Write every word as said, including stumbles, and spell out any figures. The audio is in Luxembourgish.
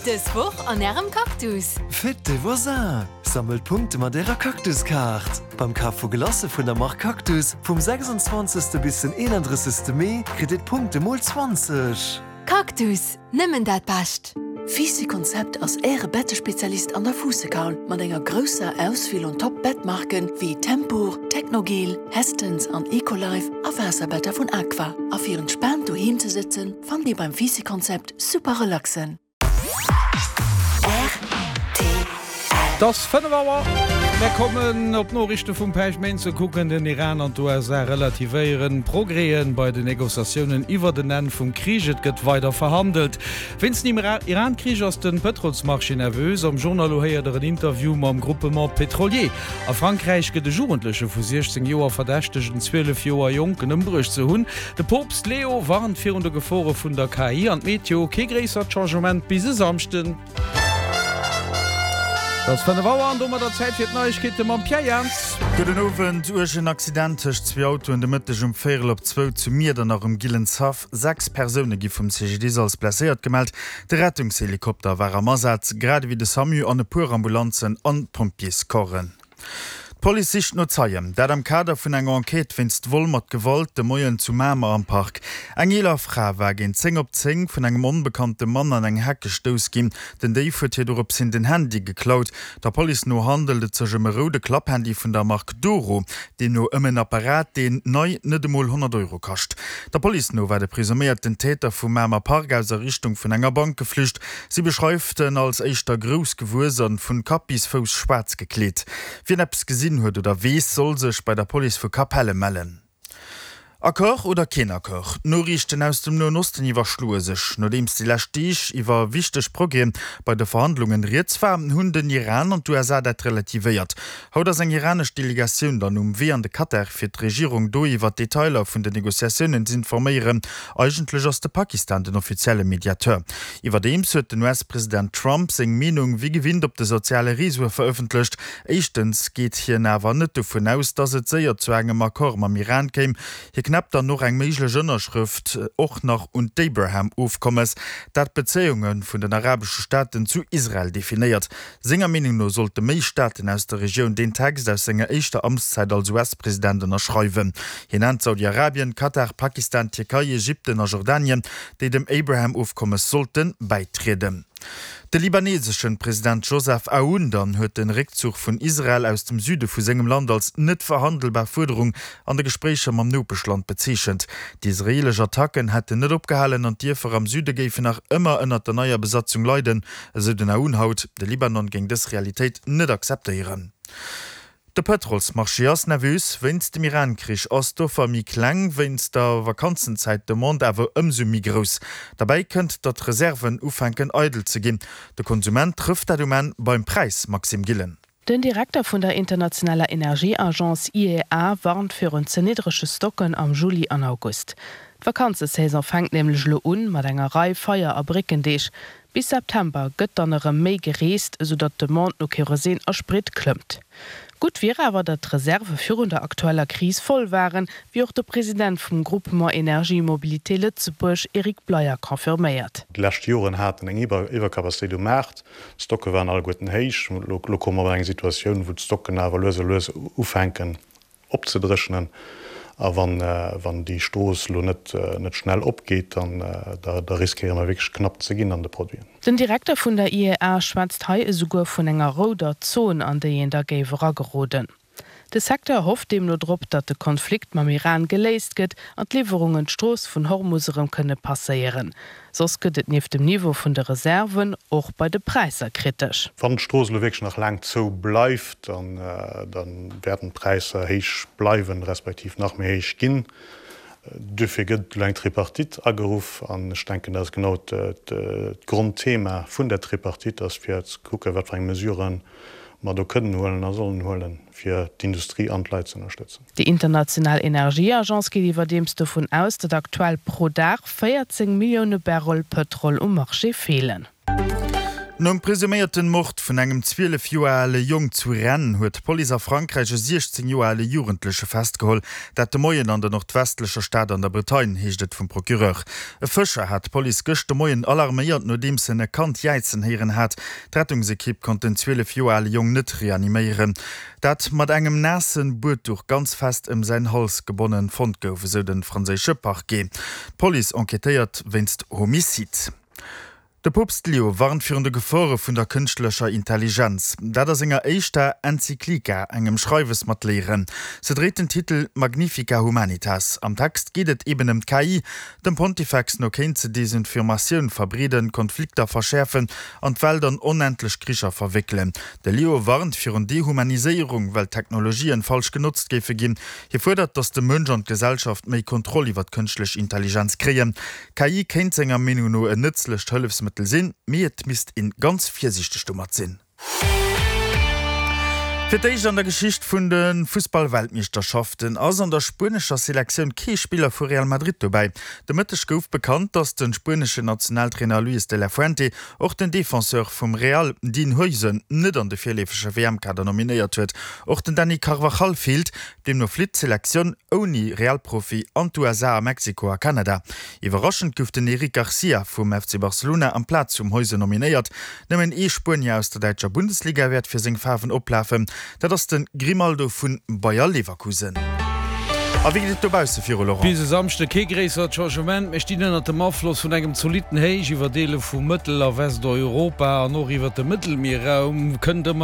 Dës Woch an Ärem Cactus! Fête des voisins! Sammelt Punkte mat Ärer Cactus-Kaart! Beim Kaf vu Glacë vun der Mark Cactus vum sechsundzwanzegste bis den eenandrëssegste Mee kritt Dir d'Punkte mol zwanzeg! Cactus, nëmmen dat Bescht! Fisi Konzept ass Äre Bettespezialist an der Fuussekaul mat enger grousser Auswiel un Top Bettmarken wéi Tempur, Technogel, Hästens an Ecolife a Waasserbetter vun Aqua. A fir entspaant doheem ze sëtzen, fannt Dir beim Fisi Konzept super relaxen. Et ass fënnef Auer. Mär kommen op d'Noriichte vum Päischtméindeg kucken. Den Iran an d'U S A relativéieren Progrèsen bei den Negociatiounen iwwer den Enn vum Krich. Et gëtt weider verhandelt. Wéinst dem Iran-Krich ass de Pëtrolsmarché nervös. Am Journal héiert der en Interview mam Groupement Pétrolier. A Frankräich gëtt e Jugendleche vu siechzéng Joer verdächtegt, en zwielef Joer Jonken ëmbruecht ze hunn. De Poopst Leo warnt virun de Gefore vun der K I an d'Meteo, kee gréissert Changement bis e Samschden. Et ass fënnef Auer an domadder Zäit fir d'Neiegkeete mam Pierre Jans. Gudden Owend. Uergen Accident tëscht zwee Autoen de Mëtteg um Véierel op zwou zu Miedernach um Gillenshaff. Sechs Persoune gi vum C G D I S als blesséiert gemellt. De Rettungshelikopter war am Asaz, grad ewéi de SAMU an e puer Ambulanzen an Pompjeescorpsen. D'Police sicht no Zeien, dat am Kader vun enger Enquête wéinst Vol mat Gewalt de Moien zu Mamer am Park. Eng eeler Fra war géint zéng op zéng vun engem onbekannte Mann an eng Heck gestouss ginn. Den Déif huet hir doropshin den Handy geklaut. Der Police no handelt et sech ëm e roude Klapphandy vun der Mark Doro, deemno ëm en Apparat, deen nei net emol honnert Euro kascht. Der Police no war de presuméierten Täter vum Mamer Park aus a Richtung vun enger Bank geflücht. Si beschreift en als éischter grouss gewuess an vun Kapp bis Fouss schwaarz gekleet. Wien eppes gesinn huet oder weess, soll sech bei der Police vu Capelle mellen. Accord oder keen Accord? D'Noriichten aus dem Noen Osten iwwerschloe sech. Nodeems déi lescht Deeg iwwer wichteg Progrèse bei de Verhandlungen rieds war, hunn den Iran an d'U S A dat relativéiert. Haut ass eng iranesch Delegatioun dann um Wee an de Katar, fir d'Regierung do iwwer d'Detailer vun den Negociatiounen z'informéieren. Eigentlech ass de Pakistan den offizielle Mediateur. Iwwerdeems huet den U S-President Trump seng Meenung wéi gewinnt op de soziale Reseaue verëffentlecht. Éischtens geet hien awer net dovun aus, datt et séier zu engem Accord mam Iran kéim. Hie knäppt dann och eng méiglech Ënnerschrëft och nach un d'Abraham-Ofkommes, dat d'Bezéiunge vun den arabesche Staaten zu Israel definéiert. Senger Meenung no sollte méi Staaten aus der Regioun deen Text aus senger éischter Amtszäit als U S-President ënnerschreiwen. Hien nennt Saudi-Arabien, Katar, Pakistan, Tierkei, Ägypten a Jordanien, déi dem Abraham-Ofkommes sollte bäitrieden. De libaneseschen President Joseph Aoun dann huet den Réckzuch vun Israel aus dem Süde vu sengem Land als net verhandelbar Fuerderung an de Gespréicher mam Nopeschland bezeechent. D'israeelesch Attacken hätten net opgehalen an d'Dierfer am Süde géifen nach ëmmer ënnert der neier Besatzung leiden, esou den Aoun haut. De Libanon géing dës Realitéit net akzeptéieren. De Pëtrolsmarché ass nervös. Wéinst dem Iran-Krich ass d'Offer méi kleng, wéinst der Vakanzenzäit d'Demande awer ëmsou méi grouss. Derbäi kënnt, datt d'Reserven ufänken eidel ze ginn. De Konsument trëfft dat um Enn beim Präis, Maxime Gillen. Den Direkter vun der internationaler Energieagence I E A warnt virun ze niddrege Stocken am Juli an August. D'Vakanzesaison fänkt nämlech lo un mat enger Rei Feier a Bréckendeeg. Bis September gëtt dann erëm méi gereest, esou datt d'Demande no Kerosin a Sprit klëmmt. Gutt wier awer, datt d'Reserve virun der aktueller Kris voll waren, wéi och de President vum Groupement Energie Mobilité Lëtzebuerg Eric Bleyer confirméiert. Déi lescht Joren haten eng Iwwerkapazitéit um Maart, d'Stocke waren alleguerten héich. Lo komme mer an eng Situatioun, wou d'Stocken awer lues a lues ufänken opzedréchnen. A wann wann déi Strooss lo net net schnell opgeet, dann da da riskéiere mer wierklech knapp ze ginn an de Produiten. Den Direkter vun der I E A schwätzt hei esouguer vun enger rouder Zon, an déi een da géif erageroden. De Secteur hofft deemno drop, datt de Konflikt mam Iran geléist gëtt an d'Liwwerungen d'Strooss vun Hormus erëm kënne passéieren. Soss gëtt et nieft dem Niveau vun de Reserven och bei de Präisser kritesch. Wann d'Strooss elo wierklech nach laang zou bleift, dann dann wäerten d'Präisser héich bleiwen, respektiv nach méi héich ginn. Duerfir gëtt elo eng Tripartite ageruff an ech denken, dat ass genau d'Grondthema vun der Tripartite ass, fir ze kucken, wat fir eng Mesuren mer do kënnen huelen a sollen huelen, fir d'Industrie an d'Leit ze ënnerstëtzen. Déi international Energieagence geet iwwerdeems dovun aus, datt aktuell pro Dag véierzéng Millioune Barrel Pëtrol um Marché feelen. Nom presuméierten Mord vun engem zwielef Joer ale Jong zu Rennes huet d'Police a Frankräich e siechzéng Joer ale Jugendleche festgeholl. Dat de Moien an der nordwestlecher Stad an der Bretagne, heescht et vum Procureur. E Fëscher hat d'Police gëscht de Moien alarméiert, nodeems en e Kand jäizen héieren hat. D'Rettungsekipp konnt den zwielef Joer ale Jong net reaniméieren, dat mat engem naasse Buedduch ganz fest ëm säin Hals gebonnen fonnt gouf, esou de franséische Parquet. D'Police enquêtéiert wéinst Homicide. De Poopst Leo warnt virun de Gefore vun der kënschtlecher Intelligenz. Dat a senger éischter Enzyklika, engem Schreiwes mat Léieren. Se dréit den Titel Magnifica Humanitas. Am Text geet et eben ëm d'K I. Dem Pontifex no kéint se Desinformatioun verbreeden, Konflikter verschäerfen an d'Welt an onendlech Kricher verwéckelen. De Leo warnt virun Dehumaniséierung, well d'Technologien falsch genotzt géife ginn. Hie fuerdert, datt de Mënsch an d'Gesellschaft méi Kontroll iwwer d'kënschtlech Intelligenz kréien. K I kéint senger Meenung no en nëtzlecht Hëllefsmëttel sinn, mee et misst een ganz virsiichteg domat sinn. Fir d'éischt an der Geschicht vun de Fussball-Weltmeeschterschaften ass an der spuenescher Selektioun kee Spiller vu Real Madrid dobäi. De Mëtteg gouf bekannt, datt de spueneschen Nationaltrainer Luis de la Fuente och den Defenseur vum Real Dean Huijsen net an de virleefege W M-Kader nominéiert huet. Och den Dani Carvajal feelt. Deemno flitt d'Selektioun ouni Real-Profi an d'U S A, a Mexiko a Kanada. Iwwerraschend gouf den Eric Garcia vum F C Barcelona amplaz vum Huijsen nominéiert. Nëmmen ee Spuenier aus der däitscher Bundesliga wäert fir seng Faarwen oplafen, dat ass de Grimaldo vu Bayer Leverkusen. A wéi geet et dobausse viru, Laurent? Bis e Samschde kee gréissert Changement. Mir stinn ënnert dem Afloss vun engem zolitten Héich iwwer Deele vu Mëttel a Westeuropa an och iwwert dem Mëttelmierraum kënnt ëmmer